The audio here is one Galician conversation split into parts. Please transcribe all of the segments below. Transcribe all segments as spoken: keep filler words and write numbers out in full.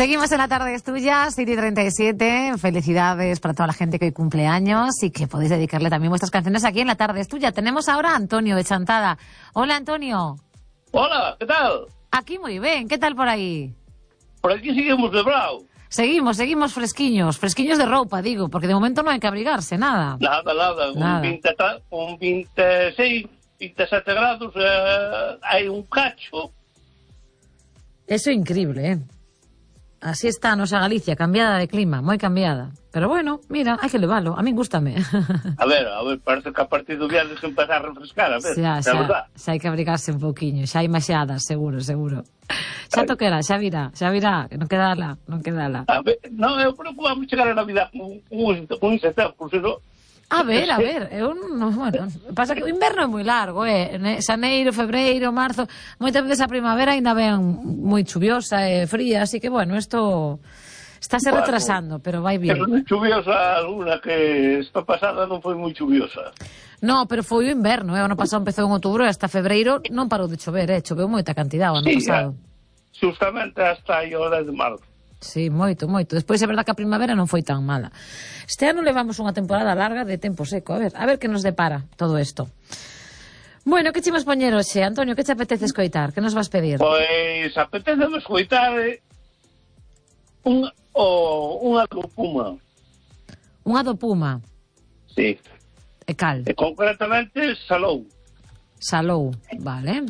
Seguimos en La Tarde es Tuya, siete y treinta y siete. Felicidades para toda la gente que hoy cumple años y que podéis dedicarle también vuestras canciones aquí en La Tarde es Tuya. Tenemos ahora a Antonio de Chantada. Hola, Antonio. Hola, ¿qué tal? Aquí muy bien. ¿Qué tal por ahí? Por aquí seguimos de bravo. Seguimos, seguimos fresquiños. Fresquiños de ropa, digo, porque de momento no hay que abrigarse, nada. Nada, nada. nada. Un, veinte, un veintiséis, veintisiete grados, eh, hay un cacho. Eso é increíble, eh? Así está a nosa Galicia, cambiada de clima, moi cambiada. Pero bueno, mira, hai que leválo, a min gústame. A ver, a ver, parece que a partir do viernes que empezar a refrescar, a ver, xa, xa, xa, xa hai que abrigarse un pouquiño, xa hai maxadas, seguro, seguro. Xa toquera, xa virá, xa virá, que non quedala, non quedala. A ver, non, eu creo que vamos chegar a Navidad con un, un setembro, por si non... A ver, a ver, eu non, bueno, pasa que o inverno é moi largo, eh, xaneiro, febreiro, marzo, moitas veces a primavera ainda ven moi chuviosa e fría, así que bueno, isto estáse bueno, retrasando, pero vai bien. Pero non chuviosa alguna que esta pasada non foi moi chuviosa. No, pero foi o inverno, eh, o ano pasado empezou en outubro e hasta febreiro non parou de chover, eh, choveu moita cantidad o ano sí, pasado. Justamente hasta aí o dez de marzo. Sí, moito, moito. Despois é verdad que a primavera non foi tan mala. Este ano levamos unha temporada larga de tempo seco. A ver, a ver que nos depara todo isto. Bueno, que chimos poñer hoxe? Antonio, que te apetece escoitar? Que nos vas pedir? Pois apetece escoitar un, o, unha do Puma. Unha do Puma? Sí. E cal? E concretamente Salou. Salou, vale.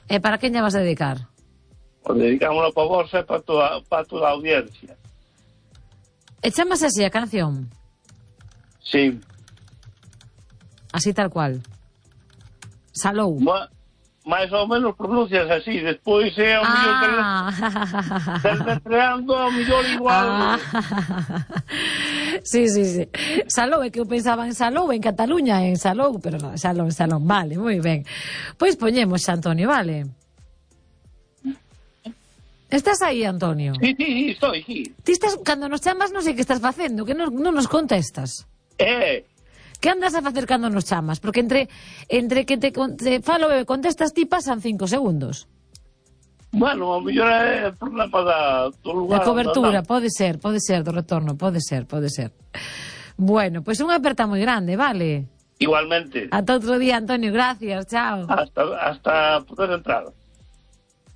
E para quen lle vas dedicar? O dedicámoslo para vos e para toda, para toda a audiencia. E chamase así a canción? Sí. Así tal cual? Salou? Ma, máis ou menos pronuncias así. Despois é o mellor ah. deletreando o mellor igual. Ah. Sí, sí, sí. Salou, é que eu pensaba en Salou, en Cataluña, en Salou, pero non, Salou, Salou. Vale, moi ben. Pois poñemos, Antonio, vale? Estás aí, Antonio? Sí, sí, estoy aquí. Ti estás, cando nos chamas non sei que estás facendo, que non, non nos contestas. Eh. Que andas a facer cando nos chamas? Porque entre entre que te, te falo e contestas ti pasan cinco segundos. Bueno, o mellor é problema da, do lugar. A cobertura, pode ser, pode ser, do retorno, pode ser, pode ser. Bueno, pois pues unha aperta moi grande, vale? Igualmente. Ata outro día, Antonio, gracias, chao. Hasta, hasta poder entrar.